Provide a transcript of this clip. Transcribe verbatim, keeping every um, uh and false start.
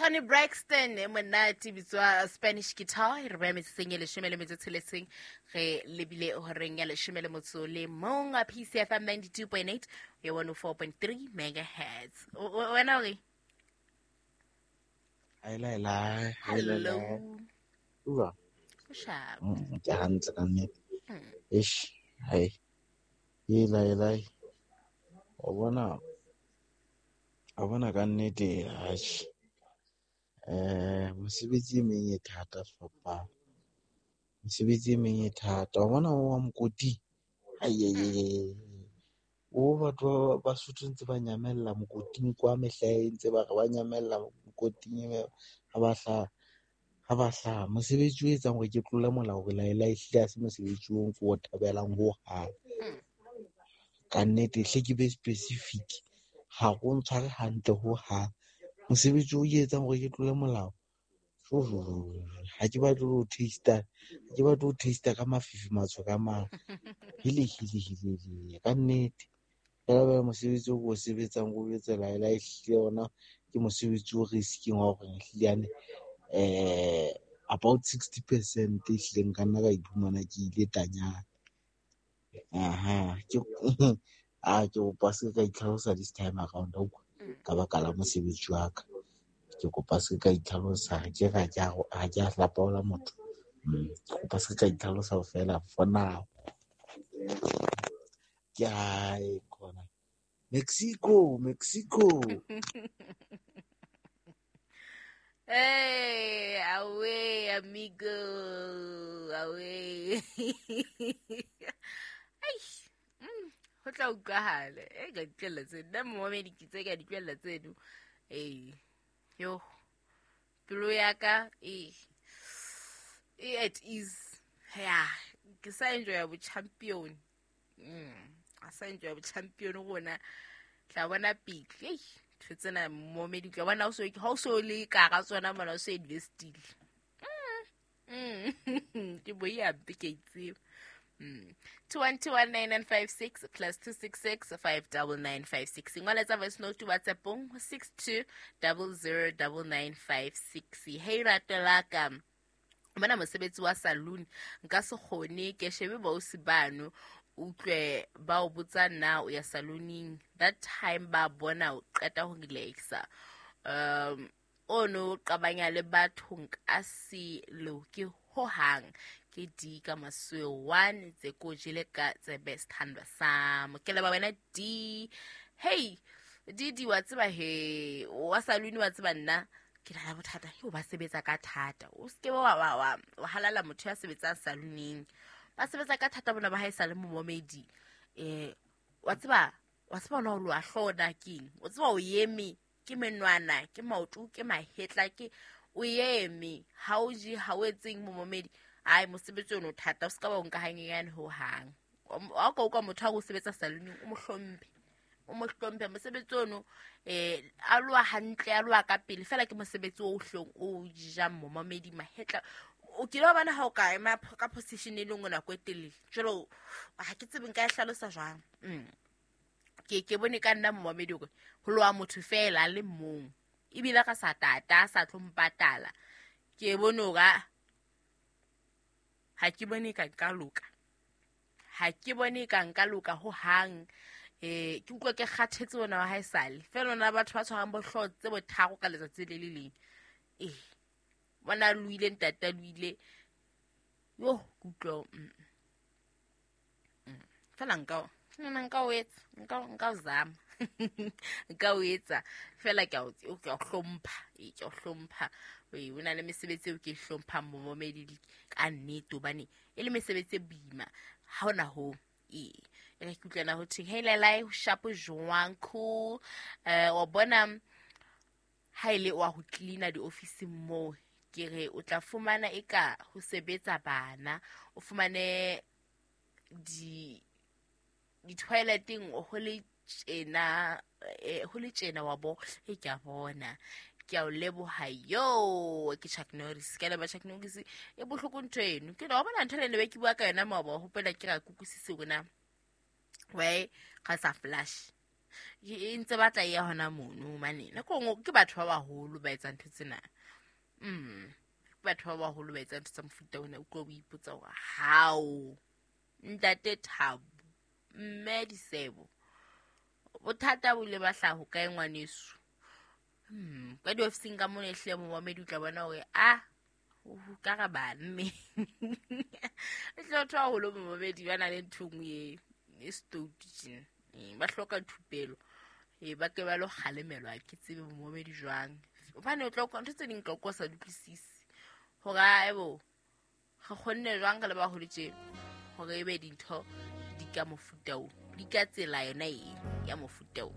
Toni Braxton e monate bitswa Spanish Guitar e re beha metsotsong e leshome le metso e tsheletseng re lebile horeng ya leshome le motso le mong a P C F M ninety-two point eight ya one oh four point three megahertz. Wena o re? Hello. Hello. Uwa. Sharp. Ke hantle ka nnete. Eish, hai. Ela ela. O bona a bona ka nnete eish. Eh, mosebetsi e meng e thata fapa. Mosebetsi e meng e thata. O bona o wa mokoti. Ai ai ai. O batho ba Sotho ntse ba nyamella mokoting kwa mehla e ntse ba re ba nyamella mokoting ha ba hla ha ba hla mosebetsi o etsang hore ke tlole molao hore la ela ehlile ha se mosebetsi o ke o thabelang ho hang. Ka nnete hle ke be specific ha go ntshware hantle ho hang. Mosebetsi o etsang hore ke tlole molao ha ke batle ho taste ha ke batle ho taste ka mafifi matsho ka mang hele hele hele ka nnete. Fela ba mosebetsi o o sebetsang o etsela ela ehlile ona ke mosebetsi o risking wa hore ehlile yane eh about sixty percent ehlile nka nna ka iphumana ke ile tanyana. Aha ke a ke kopa se ka itlhalosa this time around ka baka la mosebetsi wa ka. Ke kopa se ka itlhalosa ke ga ke ha ke a hlapaola motho. Ke kopa se ka itlhalosa fela for now. Ke hae kona Mexico, Mexico. Hey, away, amigo, away. Ay, ho tla utlwahala. E ka ditlwella tseno. Nna momamedi ke tse ka ditlwella tseno. Ee, yo, pelo ya ka e e at ease. Ya, ke sa enjoya bo champion. Mm, a sa enjoya bo champion rona. Tla bona pele. Ei, ntho tsena momamedi tla bona o so ha o so le ka ga tsona mona o so investile. Mm. Mm. Ke bo ya ke itse. Mm. two one two one nine nine five six plus two six six five nine nine five six. Ngola tsa voice note WhatsApp six two zero zero nine nine five six. Hey ratelaka. Bona mosebetsi wa saloon nka se kgone ke shebe ba o sibano utlwe ba o botsa na o ya salooning that time ba bona o qeta ho relaxa. Um ono qabanya le batho nka se loke ho hang. Ke D ka maswe one tse ko jele ka tse best handwa sam ke le ba wena D. Hey D D wa tseba he wa saloon wa tseba nna ke na le bothata he o ba sebetsa ka thata o ske wa wa wa wa halala motho ya sebetsang salooning ba sebetsa ka thata bona ba ha e sa le momamedi eh wa tseba wa tseba ona o lo a hlona keng o tseba o yeme ke menwana ke maoto ke mahetla ke o yeme ha o je ha o etseng momamedi. Ai mosebetsi ono thata o ska ba o nka hanyenyane ho hang. Ha o ka utlwa motho a go sebetsa salooning o mo hlomphe. O mo hlomphe mosebetsi ono eh a loa hantle a loa ka pele fela ke mosebetsi o hlong o jang momamedi mahetla. O kile wa bona ha o ka ema ka position e lengwe nako e telele. Jwalo ha ke tsebe nka e hlalosa jwang. Mm. Ke ke bone ka nna momamedi hore ho loa motho fela le mong. Ebile ka sa tata sa tlo mpatala. Ke bone hore ha ke bone ka nka loka. Ha ke bone ka nka loka ho hang. Eh ke utlwa ke kgathetse bona wa haesale. Fela ona batho ba tshwarang bohlooho tse botharo ka letsatsi le le leng. Eh bona luile ntata luile. Yo ke utlwa mm. Fela nka nna nka o etsa, nka nka o zama. Nka o etsa fela ke a o ke a hlompha, e ke a hlompha. O na le mesebetsi eo ke hlomphang momamedi ka nnete hobane e le mesebetsi e boima ha hona ho e e ke utlwana ho theng hey lelai sharp jwang cool eh wa bona ha ile wa ho cleaner di office mo ke re o tla fumana eka ho sebetsa bana o fumane di di toileteng ho le tjena ho le tjena wa bo e ke a bona ke a o leboha yo ke Chuck Norris ke leba Chuck Norris e bohloko ntho eno ke no bona ntho le be ke bua ka yona maoba hopola ke ra kukusise rona we ga sa flash E ntse batla e ya hona mono mane. Nako nngwe ke batho ba baholo ba etsang ntho tsena. Mm. Ke batho ba baholo ba etsang ntho tsa mofuta ona. Utlwa o ipotsa hore hao ntate Thabo, mme Disebo, bothata bo ile ba hlaha ho kae ngwaneso? Hmm, ka diofising ka mona ehlile momamedi o tla bona hore a ka re banne. Ehlile batho ba baholo momamedi ba na le ntho e nngwe e e stoutu tjena. Ba hloka thupelo. E ba ke ba lo kgalemelwa ke tsebe momamedi jwang. Hobane o tla utlwa ntho tse ding ka utlwa o sa di utlwisise. Hore aebo re kgonne jwang re le baholo tje hore ebe dintho di ka mofuta oo, di ka tsela yona e ya mofuta oo.